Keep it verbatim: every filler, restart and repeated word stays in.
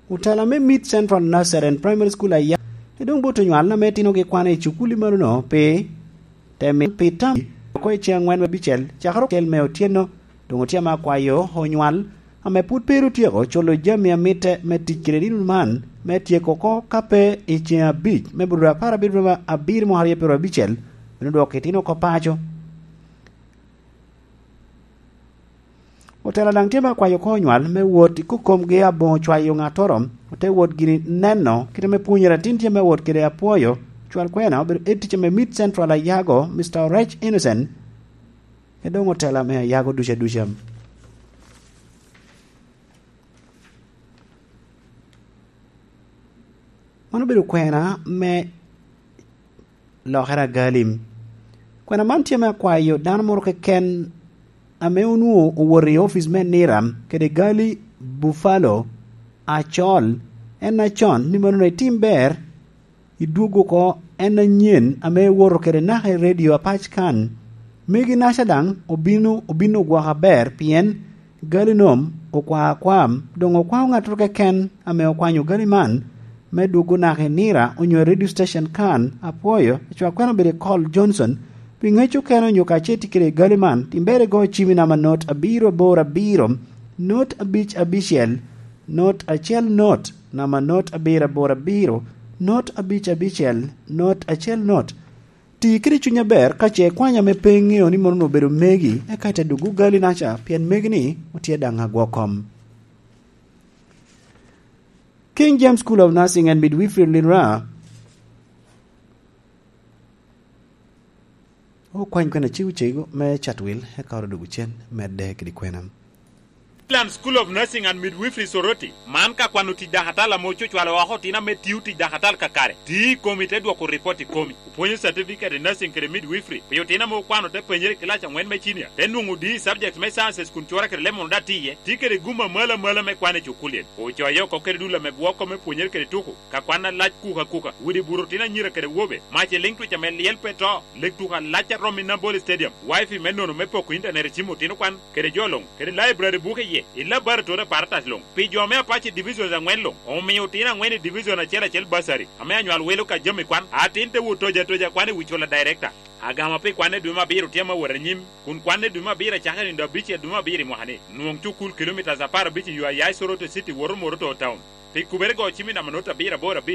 Otela me Mid Central Nursery and Primary School aya, i doŋ bot onywal ame itinogi kwane i cukul i malono pi te mi pi tam oko i ceŋ aŋwen me abicel, cakere ocel me otyeno. Doŋ otye ame akwayo onywal ame pwod pe ru otyeko culo jami a mitte me tic kede nino man, me tyeko oko ka pe i ceŋ abic me bur apar abiro abiro mwaka aryo pyero abicel, bino dwoko itino oko paco. Otela daŋ tye me akwayo oko onywal me wot i kokomgi aboŋo cwayo ŋattoro, ote wot gini neno kite me pwonyere atin tye me wot kede apwoyo, cwal kwena obedo ed tic ame Mid Central Ayago, Mister Orech Innocent, ke doŋ otela me Ayago duca duca. Man obedo kwena me lokere agali. Kwena man tye me akwayo dano moro keken ame onwoŋo owoto i ofic me Niram kede gali Buffalo acol, en acon ni mano itim ber, idwog oko en anyen ame iwoto kede naka i redio apac kan. Megi naca daŋ obino, obino ogwoko aber pien gali nom okwa akwam, doŋ okwao ŋattoro keken ame okwanyo gali man me dwogo naka i Nira onyo i radio station kan. Apwoyo, acwak kwena obedo i Col Johnson, pi ŋec okene onyo ka ce tye kede gali man, tim ber igo cimi namba not abiro aboro abiro, not abic abicel, not acel not, namba not abiro aboro abiro, not abic abicel, not acel not. Ti kede cuny aber ka ce ikwanya ame pe iŋeo ni mono obedo megi, eka ite dwogo gali naca, pien megi-ni otye daŋ agwo kom. King James School of Nursing and Midwifery Lira. Okwany kwena cego cego me Chatwil, eka oro dwogo cen, medde kede kwena. Midland School of Nursing and Midwifery Soroti, man ka kwano tic dakatal ame ococwalo oko otino ame tio tic dakatal kakare, ti i komi te dwoko ripot i komi. Opwonyo certificate i nursing kede midwifery pi otino ame okwano te penyere i kilac aŋwen me cinia, te nwoŋo D i subject me sciences kun cura kede lemon oda tye iye, ti kede gum amalo amalo me kwan i cukul-li. Ocoyo oko kede dul ame gwoko me pwonyere kede tuko, ka kwan alac kuka kuka, widi buto otino anyira kede wobe, mac i liŋ twic ame lyel pe to, lek tuko alac a rom i Nambole Stadium, wifi me nono me poko intanet i cim otino kwan, kede jo luŋ, kede library buke iye, i laboratory apparatus luŋ, pi jo me Apache Divisions aŋwen luŋ, omio otino aŋwen i division acel acel bursary, ame anywal wilo ka jami kwan, atin te wot toja toja kwan i wi cula director. Agama pi kwan i dwe me abiro tye ame awot anyim, kun kwan i dwe me abiro acako i nino abic i dwe me abiro i mwaka-ni. Nwoŋ cukul kilomitas apar abic i yo a ya i Soroti City woto Moroto Town. Pi kubere go cim i namba not abiro aboro abic.